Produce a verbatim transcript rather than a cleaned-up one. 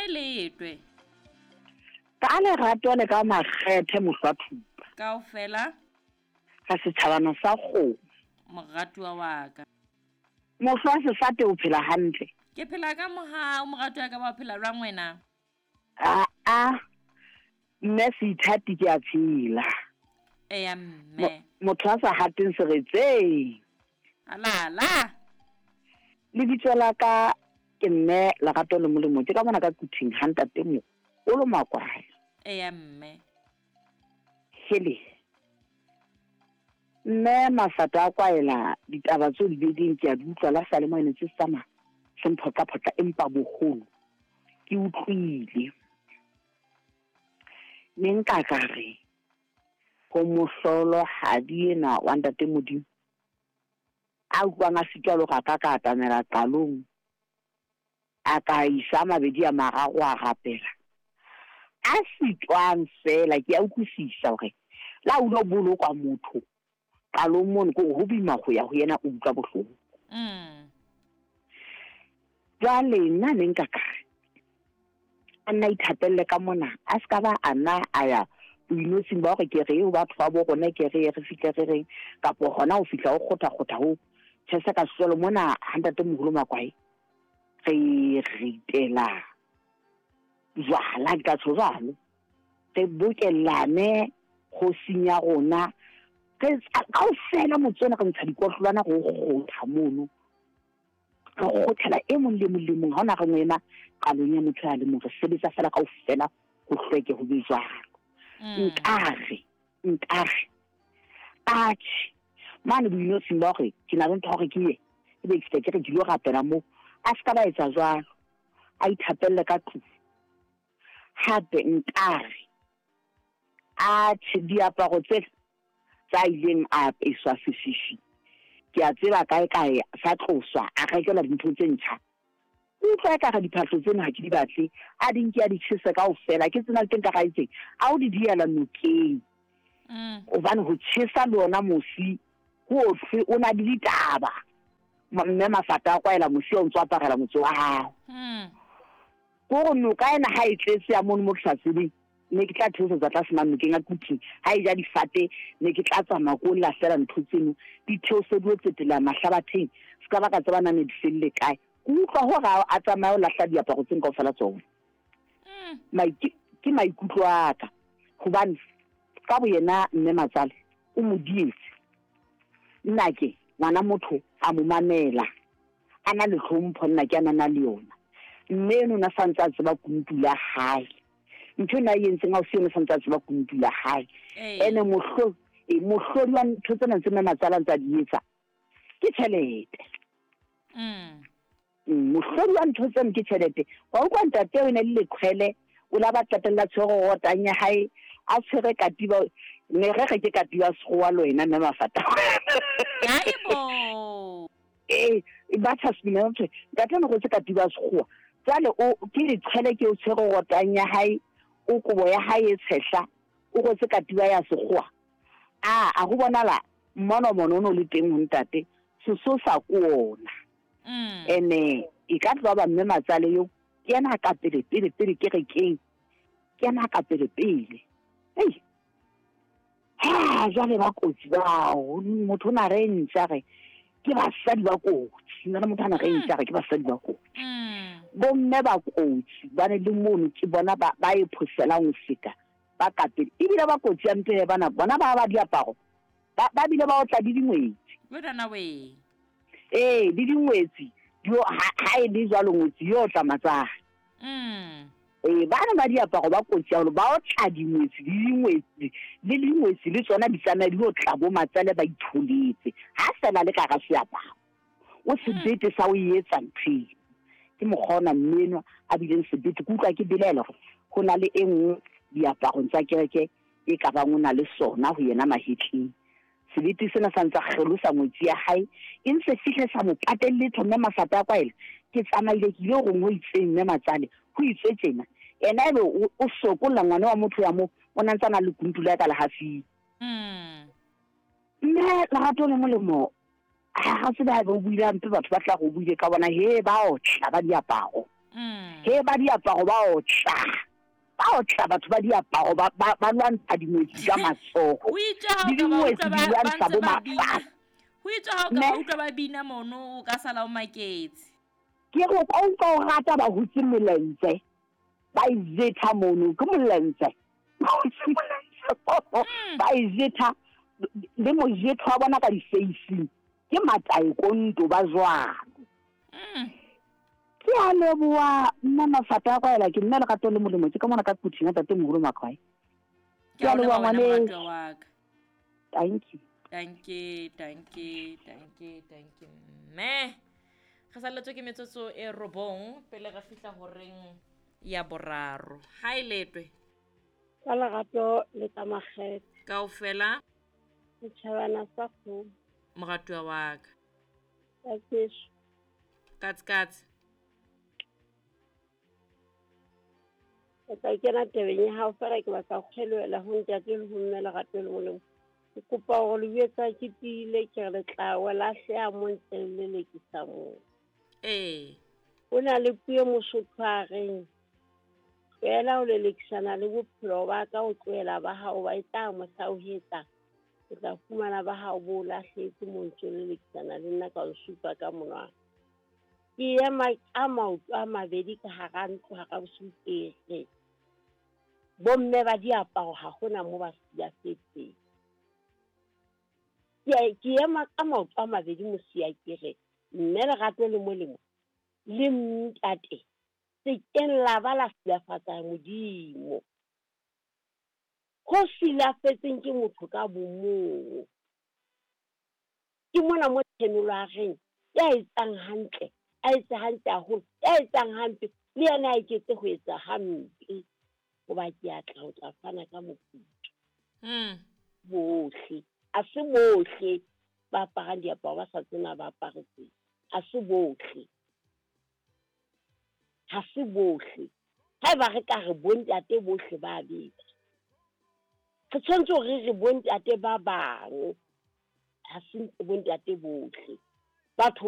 Kae letwe? Ka lerato le ka makgethe mohlwa thupa. Kaofela ka setjhabana sa kgomo. Moratuwa wa ka. Mohlwa sefate o phela hantle. Ke phela ka mohau moratuwa wa ka, ba phela jwang wena? A a mme seithati ke a phela. Eya mme. Motho a sa hateng seretseng. Ala la. Lebitso la ka ke mme Lerato le Molemo, ke ka mona ka Kuthing ha ntate mo o lo Makwae. Eya mme. Hele. Mme Mafata a kwaela ditaba tseo di beding ke a di utlwa la sale mo ene tse tsamaya se mphotla-photla, empa boholo ke utlwile. Ne nka ka re ho mohlolohadi ena wa ntate Modimo a utlwang a sitwa le hore a ka ka atamela qalong, a ka isa mabedi a mararo a rapela. A sitwang fela ke a utlwisisa hore la o lo bolokwa motho qalong mono ke hore ho boima ho ya ho yena, o utlwa bohloko. Mm. Jwale nna ne nka ka re a nna ithapelle ka mona, a se ka ba a nna a ya boinotshing ba hore ke re ho batho ba bo rona, ke re re fihle re reng, kapo hona ho fihla ho kgotha-kgotha ho tjhesa ka sejwalo mona ha ntate moholo Makwae re ritela jwala ka tjho jwalo, re bokellane kgosing ya rona, re kaofela motse ona re ntsha dikotlolwana re o kgotha mono, re kgothela e mong le mong le mong, ha hona re mo ema qalong ya motho a le mong, re sebetsa fela kaofela ho hlweke ho be jwalo. Nkare nkare atjhe mane boinotshing ba hore ke na le ntho ya hore ke ye ebe ke fihle ke re ke lo rapela moo, a se ka ba etsa jwalo, a ithapelle ka tlung. Hape nkare atjhe diaparo tse tsa ileng a apeswa sefifi, ke a tseba kae kae sa tloswa, a rekelwa dintho tse ntjha. Utlwa ekare diphahlo tseno ha ke di batle, a di nke a di tjhese kaofela, ke tsena le teng ka gaetseng, a o di diela nokeng. Hobane ho tjhesa le ona mosi ho ofe o na le ditaba. Mme Mafata a kwaela mosi o ntso aparela motse wa hao. Kore noka ena ha e tletse ya mono mo ke sa tsebeng, ne ke tla theosetsa tlase mane nokeng ya Kuthing, ha e ja difate ne ke tla tsamaya ko lahlela ntho tseno, di theosediwe tsetela mahlabatheng, se ka ba ka tseba na ne di felle kae. Ke utlwa hore a tsamaye ho lahla diaparo tseno kaofela tsona. Ke maikutlo a ka, hobane ka boyena mme Matsale o mo dietse. Nna ke ngwana motho a mo mamela, a na le hlompho, nna ke a na le yona. Mme eno o na sa ntse a tseba kunutu la hae. Ntho ena a e entseng ha o se yona sa ntse a tseba kunutu la hae. Ene mohlo mohlodi wa ntho tsena tse mme Matsale a ntse a di etsa ke tjhelete. Mohlodi wa ntho tseno ke tjhelete. Wa utlwa ntate o ne le leqhwele, o la ba qetella tshwere rotang ya hae, a tshwere katiba, ne re re ke katiba sekgowa le wena mme Mafata. Hayibo. Eh, ba tjha semela ntho, ntate o ne rwetse katiba sekgowa. Jwale o ke leqhwele ke o tshwere rotang ya hae, o kobo ya hae e tshehla, o rwetse katiba ya sekgowa. A a ho bonala mmono mono o no le teng ho ntate, sesosa ke ona. Ene e ka tloha ba mme Matsale eo ke yena a ka pele pele pele kerekeng, ke yena a ka pele pele. Hei, ha jwale ba kotsi bao, motho o na re ntja re ke basadi ba kotsi, nna le motho a na re ntja re ke basadi ba kotsi. Bomme ba kotsi bane le mono ke bona ba ba e phoselang ho feta ba ka pele, ebile ba kotsi ya mpe bana bona ba ba diaparo ba ba bile ba otla di dingwetsi. Wena we. Eh, di dingwetsi yo ha e le jwalo ngwetsi yo tla matsale. Mm. Eh, bana ba diaparo ba kotsi haholo, ba otla dingwetsi di dingwetsi le dingwetsi le tsona di tsamaya di otla bo matsale ba itholetse. Ha fela le ka ga seaparo o sebete sa o etsa ntho eo. Ke mokgwa ona mme enwa a bileng sebete. Ke utlwa ke belaela hore ho na le e nngwe diaparong tsa kereke e ka bang o na le sona ho yena mahetleng. Sebete sena sa ntsa kgelosa ngwetsi ya hae, e ntse fihle sa mo patelle letho mme Mafata a kwaela. Ke tsamaile ke ile hore ho itseng mme Matsale, ho itswe tjena. Yena ebe o sokolla ngwana wa motho ya mo, o na ntse a na le kunutu la ka lehafing. Mme Lerato le Molemo, ha tsebe haeba o buile hampe, batho ba tla re o buile ka bona, he ba otla ba diaparo. Mm. He ba diaparo ba otla. Ba otla batho ba diaparo ba ba ba lwantsha dingwetsi ka matsoho. O itse ha Le o ka ba dingwetsi utlwa di ba ba lwantsha ntse bo ba bina. mafahla. Ho itswe ha o ka Ne? ba utlwa ba bina mono o ka sala o maketse. Ke re o ka utlwa o rata ba hutse molentse. Ba e zetha mono, ke molentse. Ba hutse molentse. Mm. Ba e zetha le mojetho wa bona ka di-facing. Ke mataekonto ba jwalo. Mm. Ke a leboha nna mafata a kwaela ke nna Lerato le Molemo ke ka mona ka Quthing ya ntatemoholo Maqwae. Ke Ke a a o leboha leboha wena ngwaneso. moratuwa wa ka. Thank you. Danke, danke, danke, danke mme. Re salletswe ke metsotso e robong pele re fihla horeng ya boraro. Ha e letwe Ka lerato le ka makgethe. kaofela Setjhabana sa kgomo. moratuwa wa ka. Ka keso. Katse katse. Ke tla kena tabeng ya hao fela ke batla ho kgelohela ho ntate le ho mme Lerato le Molemo. Ke kopa hore le jwetsa ke tiile ke re le tla wa lahleha mo ntse le lelekisa moo. Ee. Ho na le puo e Mosotho a reng, tlohela ho lelekisana le bophelo ba ka, o tlohela ba hao ba e tla mohla o hetla. O tla fumana ba hao bo o lahlehetse moo ntso lelekisana le nna ka o supa ka monwana. Ke ema ka maoto a mabedi ka hara ntlo hara bosiu ke re, bomme ba diaparo ha hona moo ba silafetseng. Ke a, ke ema ka maoto a mabedi mosia ke re, mme Lerato le Molemo le ntate se keng la ba la silafatsa Modimo. Ho silafetseng ke motho ka bomong. Ke mona mo tshenolo a reng, ya etsang hantle, a etse hantle haholo, ya etsang hampe, le yena a eketse ho etsa hampe. Hoba ke a tla ho tla fana ka moputso. Mm. Bohle, a se bohle ba aparang diaparo ba sa tsena ba aparetseng. A se bohle. Ha se bohle. Haeba re ka re bontate bohle ba beta. Re tshwanetse hore re re bontate ba bang. Ha se bontate bohle. Batho